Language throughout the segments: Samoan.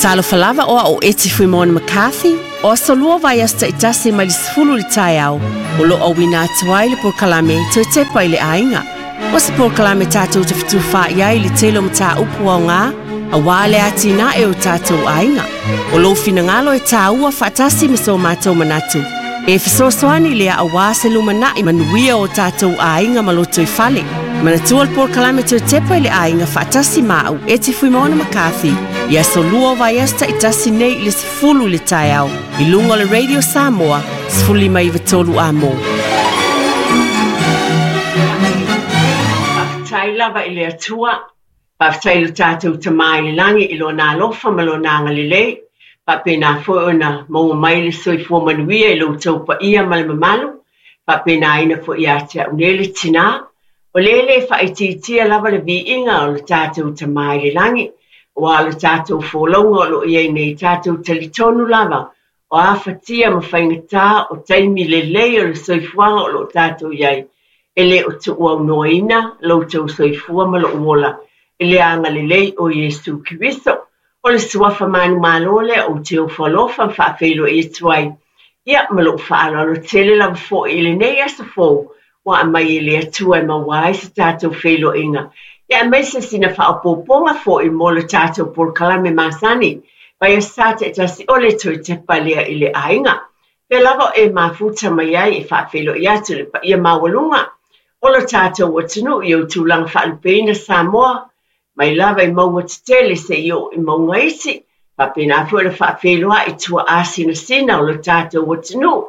Talofa lava o au o Eti Fuimaono McCarthy, o aso lua o vaiaso taitasi mai le 10 i le taeao, o lo o auina atu ai le polokalame Toe Tepa i le Aiga. O se polokalame tatou te fetufaai ai i le tele o mataupu aoga aua le atinae o tatou aiga. O lou finagalo e tāua faatasi ma so matou manatu e fesoasoani lea aua se lumanai manuia o tatou aiga ma lotoifale. Manatua le polokalame Toe Tepa i le Aiga faatasi ma au Eti Fuimaono McCarthy i aso lua o vaiaso taitasi nei i le 10 i le taeao i luga o le Radio Samoa 1593 AM. Faafetai lava i le Atua, faafetai i lo tatou Tama i le Lagi i Lona alofa ma Lona agalelei, faapena foi ona maua mai le soifua manuia i lo outou paia ma le mamalu, faapenaina foi ia te au nei le tinā, o lea e le faaitiitia lava le viiga o le tatou Tama i le Lagi, aua o le tatou folauga o lo o i ai nei, tatou talitonu lava o afatia ma faigata o taimi lelei o le soifuaga o lo o tatou i ai, e le o tuuaunoaina lo outou soifua ma lou ola i le agalelei o Iesu Keriso. O le suafa manumalo lea ou te ofo alofa ma faafeiloai atu ai, ia ma lou faaaloalo tele lava foi i lenei aso fou ua aumai e le Atua e maua ai se tatou feiloaiga, ia aemaise sina faaopoopoga foi mo le tatou polokalame masani, vaiaso sa taitasi o le toe tepa lea i le aiga. Pea lava o e mafuta mai ai e faafeiloai atu i le paia maualuga o lo tatou atunuu i ou tulaga faalupeina Samoa, mai lava i mauga tetele seia oo i mauga iti, faapena foi ona faafeiloai i tuaasinasina o lo tatou atunuu.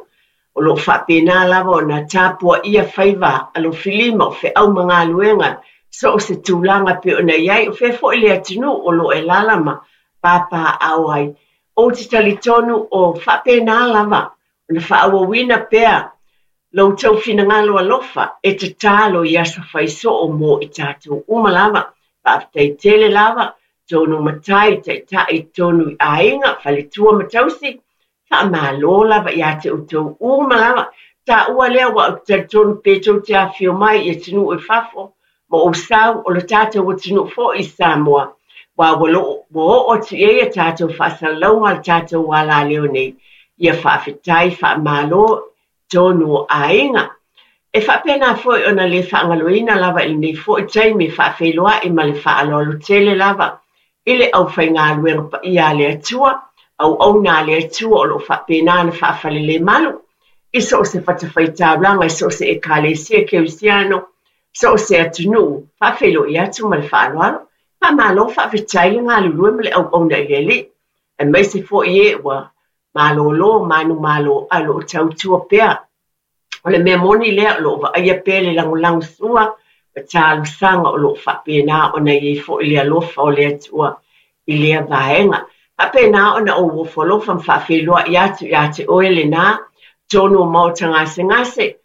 O lo o faapena lava ona tapuaia faiva alofilima o feau ma galuega so o se tulaga pei ona i ai, o fea foi le atunuu o lo o e alaala ma papaaao ai. Ou te talitonu o faapena lava ona faaauauina pea lo outou finagalo alofa e tatalo i aso fai soo mo i tatou uma lava. Faafetai tele lava, tonu matai, taitai, tonu i aiga, faletua ma tausi. Faamalo lava ia te outou uma lava. Taua lea ua ou te talitonu pe tou te afifio mai i atunuu i fafo ma ou sau o le tatou atunuu foi i Samoa, aua ua lo ua oo atu i ai a tatou faasalalauga a le tatou alaleo nei. Ia faafetai, faamalo tonu o aiga. E faapena foi ona le faagaloina lava i lenei foi taimi e faafeiloai ma le faaaloalo tele lava i le aufaigaluega paia a le Atua, auauna a le Atua o lo o faapena ona faafalelemalu i so o se fatafaitaulaga, i so o se Ekalesia Kerisiano, so o se atunuu, faafeiloai atu ma le faaaloalo. Faamalo faafetai le galulue ma le auauna i le Alii, aemaise foi e ua malolo manumalo ae o lo o tautua pea. O le mea moni lea o lo o vaaia pea le lagolago sua ma talosaga o lo o faapena ona i ai foi le alofa o le Atua i lea vaega. Faapena ona ou ofo alofa ma faafeiloai atu ia te oe lena, tonu o maota gasegase,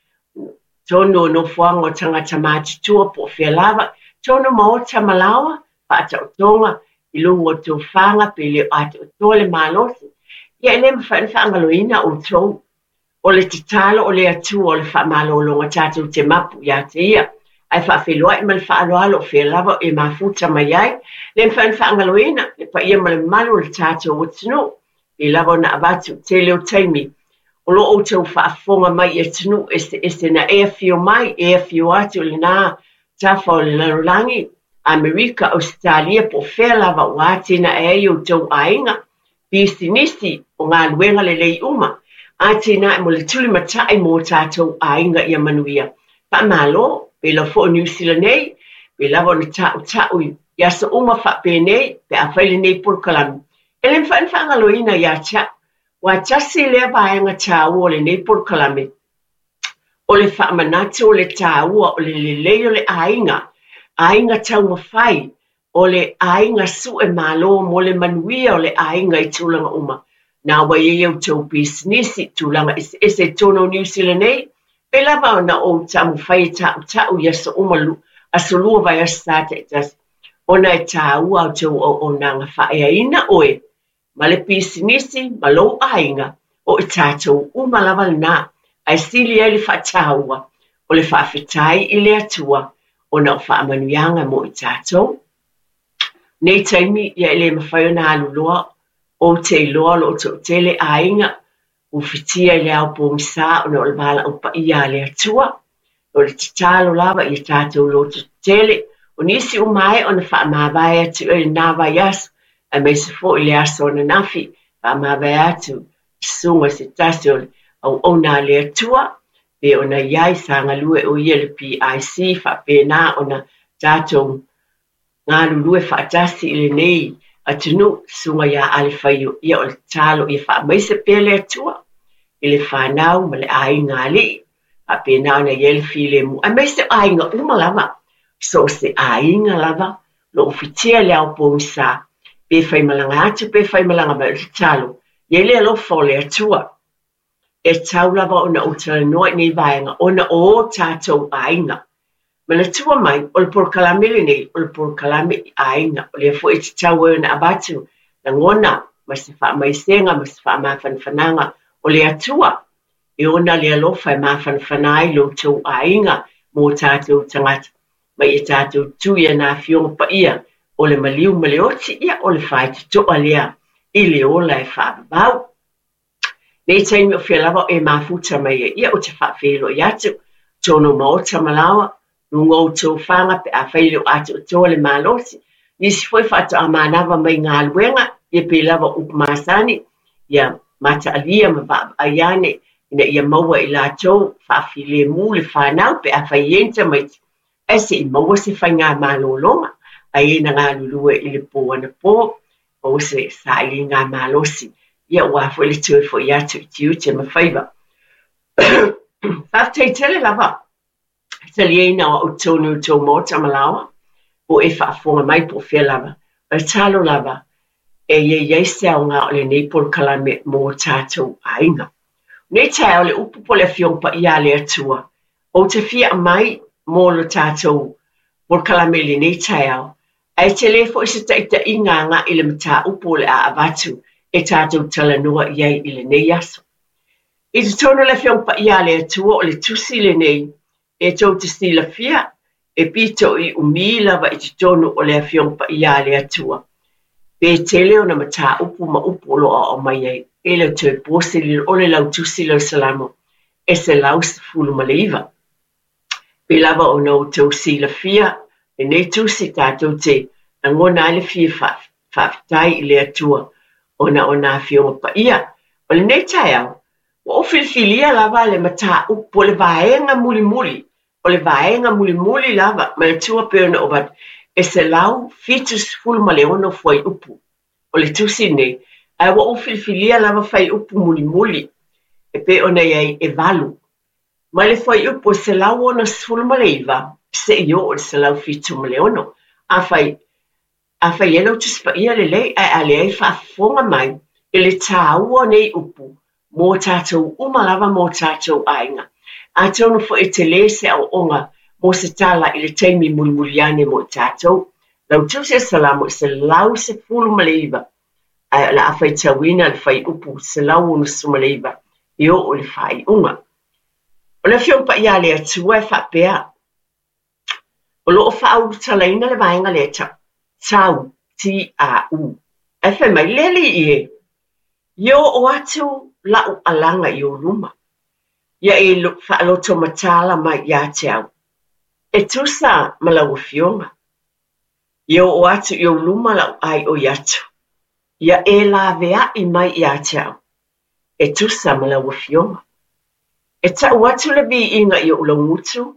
tonu o nofoaga o tagata matutua po o fea lava, tonu maota ma laoa, faataotoga i luga o tofaga pe le o atoatoa le malosi, ia e le mafai ona faagaloina outou. O le tatalo o le Atua o le faamalologa tatou te mapu ia te Ia, ae faafeiloai ma le faaaloalo o fea lava e mafuta mai ai, le mafai ona faagaloina le paia ma le mamalu o le tatou atunuu. Pei lava ona avatu i tele o taimi, o lo outou faafofoga mai i atunuu eseese na e afio mai, e afio atu i lena tafa o le lalolagi, Amerika, Ausetalia, po o fea lava ua atinae ai outou aiga, pisinisi, o galuega lelei uma, atinae mo le tulimatai mo tatou aiga ia manuia. Faamalo, pei lava foi o Niu Sila nei, pei lava ona tautau i aso uma faapenei pe a fai lenei polokalame. E le mafai ona faagaloina ia te au, ua tasi lea vaega taua o lenei polokalame, o le faamanatu o le taua o le lelei o le aiga, aiga taumafai, o le aiga sue malo mo le manuia o le aiga i tulaga uma. Na ua i ai outou pisinisi, tulaga eseese i totonu o Niu Sila nei, pei lava ona ou taumafai e tautau i aso uma, aso lua vaiaso sa taitasi, ona e taua outou auaunaga faaeaina oe ma le pisinisi ma lou aiga, o i tatou uma lava lena, ae sili ai le faataua o le faafetai i le Atua ona o faamanuiaga mo i tatou. Nei taimi ia e le mafai ona alu loa Ou te iloa o lo o toatele aiga ua fitia i le ao pogisa ona o le valaau paia a le Atua. O le tatalo lava ia tatou lototetele, o nisi ua maea ona faamavae atu i lena vaiaso, aemaise foi le aso ananafi, faamavae atu i susuga i se tasi o le auauna a le Atua, pe ona i ai sa galue o ia i le PIC, faapena ona tatou galulue faatasi i lenei atunuu, susuga ia Alefaio, ia o le tatalo ia faamaise pea le Atua i le fanau ma le aiga alii, faapena ona i ai le filemu, aemaise o aiga uma lava, so o se aiga lava, lo o fitia i le ao pogisa, pe faimalaga atu, pe faimalaga mai, o le tatalo, ia i le alofa o le Atua. E tatau lava ona ou talanoa i nei vaega ona o o tatou aiga. Manatua mai, o le polokalame lenei, o le polokalame i aiga. O lea foi e tatau ai ona avatu lagona ma se faamaisega ma se faamafanafanaga o le Atua e ona le alofa e mafanafana ai lo outou aiga mo tatou tagata. Ma ia tatou tu i ana afioga paia o le maliu ma le oti, ia o le faitotoa lea i le ola e faavavau. Nei taimi o fea lava o e mafuta mai ai, ia ou te faafeiloai atu, totonu o maota ma laoa, luga o outou faga pe afai e le o atoatoa le malosi. Nisi foi faatoa manava mai galuega, ia pei lava o upu masani, ia mataalia ma vaavaai ane ina ia maua e i latou faafilemu le fanau pe afai e i ai ni tamaiti, ae se i maua se faigamalologa, ai e na galulue i le po anapo, maua se sailiga malosi, ia aua foi le toe foi atu i tiute ma faiva. Faafetai tele lava i taliaina o au i totonu o outou maota ma laoa, po o e faafofoga mai po o fea lava. O le tatalo lava e ia i ai se aoga o lenei polokalame mo tatou aiga. O nei taeao le upu po o le Afioga Paia a le Atua, ou te fia aumai mo le tatou polokalame i lenei taeao, ae tele foi se taitaiga agai i le mataupu o le a avatu e tatou talanoa i ai i lenei aso. I totonu o le Afioga Paia a le Atua o le tusi lenei e tou te silafia e pito i umi lava i totonu o le Afioga Paia a le Atua, pe tele ona mataupu ma upu o lo o aumai ai, e le o toe po se lilo o le lautusi lea o Salamo e 119. Pei lava ona outou silafia lenei tusi tatou te lagona ai le fia faafetai i le Atua ona o nā Afioga Paia. O lenei taeao, ua ou filifilia lava le mataupu o le vaega mulimuli, o le vaega mulimuli lava, manatua pei ona ou avatu, e 176 fuaiupu o le tusi lenei, ae ua ou filifilia lava fuaiupu mulimuli e pei ona i ai e 8. Mai le fuaiupu e 169 seia oo i le 176. Afai, afai e i ai lau Tusi Paia lelei, ae a leai faafofoga mai i le tāua o nei upu mo tatou uma lava mo tatou aiga. Atonu foi e tele se aoaoga mo se tala i le taimi mulimuli ane mo i tatou. Lau Tusi o Salamo e 119, ae o le a faitauina le fuaiupu 169 e oo i le faaiuga. O le Afioga Paia a le Atua e faapea, o lo o faaulutalaina le vaega lea e tau, T-A-U. Ae fai mai, Le alii e, ia oo atu la'u alaga i ou luma, ia e faalotomatala mai ia te au, e tusa ma lau Afioga. Ia oo atu i ou luma la'u aioi atu, ia e laveai mai ia te au, e tusa ma lau Afioga. E tau atu le viiga i ou laugutu,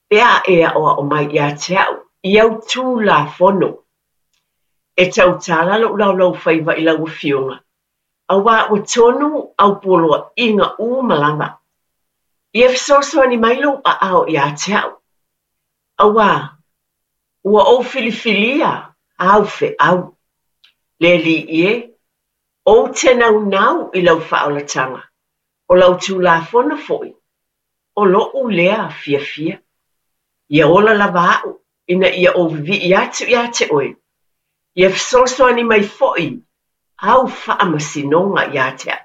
pe a e aʻoaʻo mai ia te au i au Tulafono. E tautala lou laulaufaiva i lau Afioga, auā ua tonu au poloaiga uma lava. Ia fesoasoani mai lou aao ia te au, auā ua ou filifilia āu feau. Le Alii e, ou te naunau i lau faaolataga, o lau Tulafono foi, o loʻu lea fiafia. Ia ola lava au ina ia ou vivii atu ia te oe, ia fesoasoani mai foi au faamasinoga ia te au.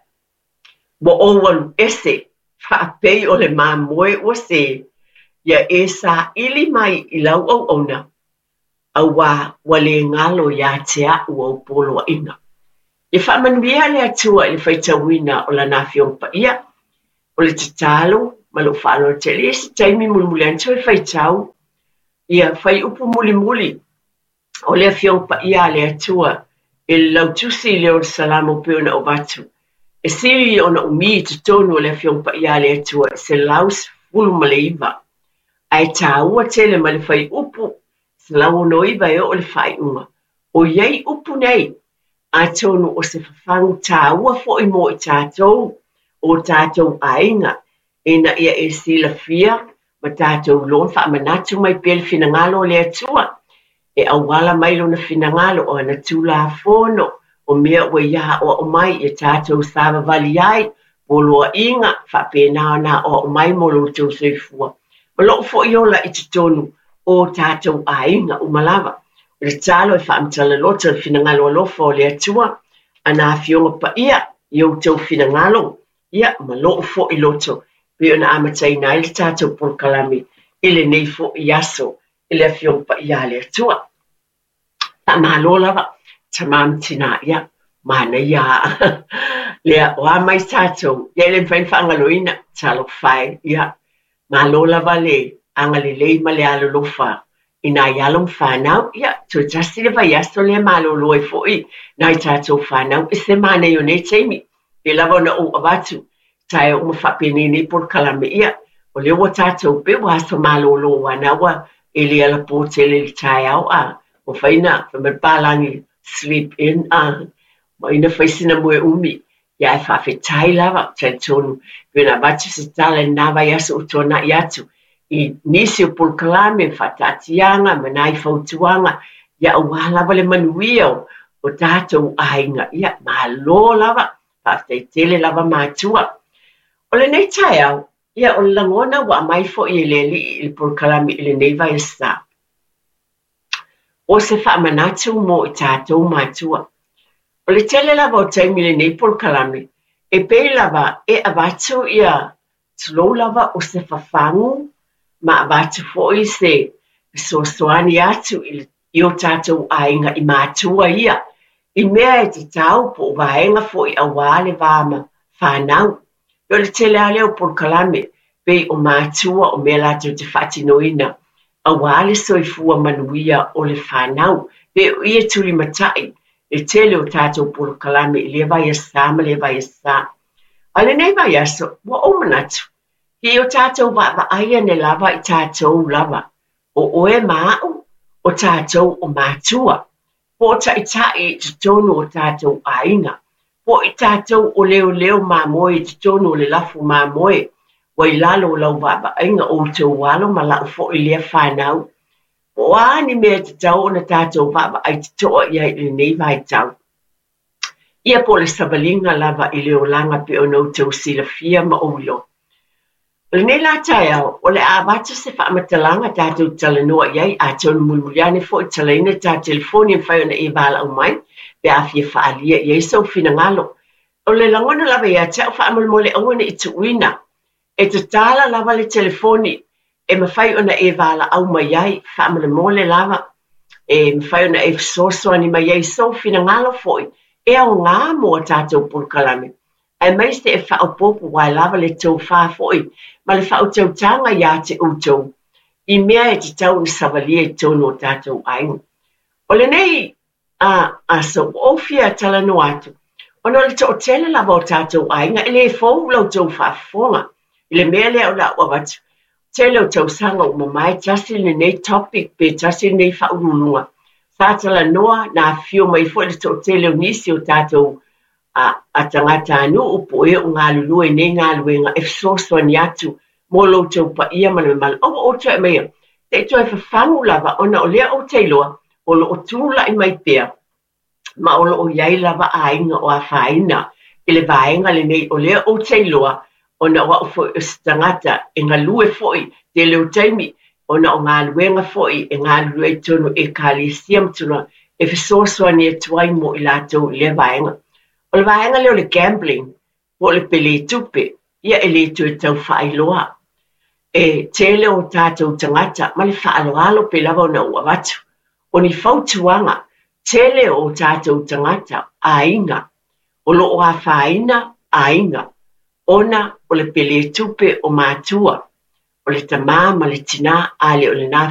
Ua ou alu ese faapei o le mamoe ua sē, ia e saili mai i lau auauna, auā ua le galo ia te au au poloaiga. Ia faamanuia le Atua i le faitauina o Lana Afioga Paia. O le tatalo ma lou faaaloalo tele, e i ai se taimi mulimuli ane toe faitau ia fuaiupu mulimuli o le Afioga Paia a le Atua i le lautusi lea o le Salamo pei ona ou avatu. E sili ona umi i totonu o le Afioga Paia a le Atua e 119, ae taua tele mai le fuaiupu 169 e oo i le faaiuga. O i ai upu nei, atonu o se fafagu taua foi mo i tatou, o tatou aiga, ina ia e silafia ma tatou iloa ma faamanatu mai pea le finagalo o le Atua, e auala mai Lona finagalo o ana Tulafono, o mea ua Ia aoao mai ia tatou savavali ai, poloaiga, faapena ona aoao mai mo lo outou soifua ma lou foi ola i totonu o tatou aiga uma lava. O le tatalo e faamatala loto le finagalo alofa o le Atua, ana Afioga Paia i outou finagalo, ia, ma lou foi loto, pei ona amataina ai le tatou polokalame i lenei foi aso i le Afioga Paia a le Atua. Faamalo lava, tama ma tina, ia, manaia lea, o a mai tatou, ia e le mafai ona faagaloina, talofa e, ia, malo lava le agalelei ma le alolofa i nai alo ma fanau, ia, toe tasi le vaiaso lea malolo ai foi nai tatou fanau, e se manaia o nei taimi, pei lava ona ou avatu, taeao uma faapenei nei polokalame, ia, o lea ua tatou pei ua aso malolo aua na ua e le alapo tele i le taeao, a ua fai na, fai mai le palagi, sleep in, a ua ina fai sina moe umi, ia ae faafetai lava, talitonu, pei ona avatu se tala i lena vaiaso ua tuanai atu, i nisi o polokalame, faataatiaga ma nai fautuaga, ia aua lava le manuia o tatou aiga, ia malo lava, faafetai tele lava matua. O lenei taeao, ia o le lagona ua aumai foi e le Alii i le polokalame i lenei vaiasa, o se faamanatu mo i tatou matua. O le tele lava o taimi i lenei polokalame, e pei lava e avatu ia tulou lava o se fafagu ma avatu foi se fesoasoani atu i o tatou aiga i matua ia, i mea e tatau po o vaega foi aua le va ma fanau. O le tele lava lea o polokalame pei o matua o mea latou te faatinoina aua le soifua manuia o le fanau. Pei o i e tulimatai le tele o tatou polokalame i lea vaiasa ma lea vaiasa. A o lenei vaiaso, ua ou manatu, i o tatou vaavaai ane lava i tatou lava, o oe ma a'u, o tatou o matua, po o taitai i totonu o tatou aiga, po o i tatou o leoleo mamoe i totonu o le lafu mamoe, ua i lalo o lau vaavaaiga o outou alo ma la'u foi lea fanau. Po o a ni mea e tatau ona tatou vaavaai toto'a i ai i lenei vaitau. Ia po o le savaliga lava i le olaga pei ona outou silafia ma ou iloa. O lenei la taeao, o le a avatu se faamatalaga tatou talanoa i ai, atonu mulimuli ane foi talaina le ta telefoni e mafai ona e valaau mai pe a fia faaalia i ai sou finagalo. O le lagona lava ia te au faamolemole aua ne i tuuina. E tatala lava le telefoni e mafai ona e valaau mai ai, faamolemole lava, e mafai ona e fesoasoani mai ai sou finagalo foi e aoga mo a tatou polokalame, aemaise e faaopoopo aua e lava le tofa foi ma le faautautaga ia te outou i mea e tatau ona savalia i totonu o tatou aiga. O lenei aso, ua ou fia talanoa atu, ona o le toatele lava o tatou aiga e le fou la outou faafofoga i le mea lea o le a ou avatu. Tele o tausaga ua mamae tasi lenei topic pe tasi lenei faauluuluga. Sa talanoa na afifio mai foi le toatele o nisi o tatou a tagatanuu po o e o galulue i nei galuega e fesoasoani atu mo lo outou paia ma le mamalu. Aua outou toe aumaia, se i toe fafagu lava ona o lea ou te iloa o lo o tulai mai pea ma o lo o i ai lava aiga o afaina i le vaega lenei o lea ou te iloa ona o au foi o se tagata e galue foi tele o taimi ona o galuega foi e galulue ai totonu o Ekalesia ma tulaga e fesoasoani atu ai mo i latou i lea vaega. O le vaega lea o le gambling po o le pele tupe, ia e le toe tau faailoa. E tele o tatou tagata ma le faaaloalo pei lava ona ou avatu. O ni fautuaga, tele o tatou tagata, aiga, O loo afaina aiga ona o le pele tupe o matua, o le tamā ma le tinā, a le o lena.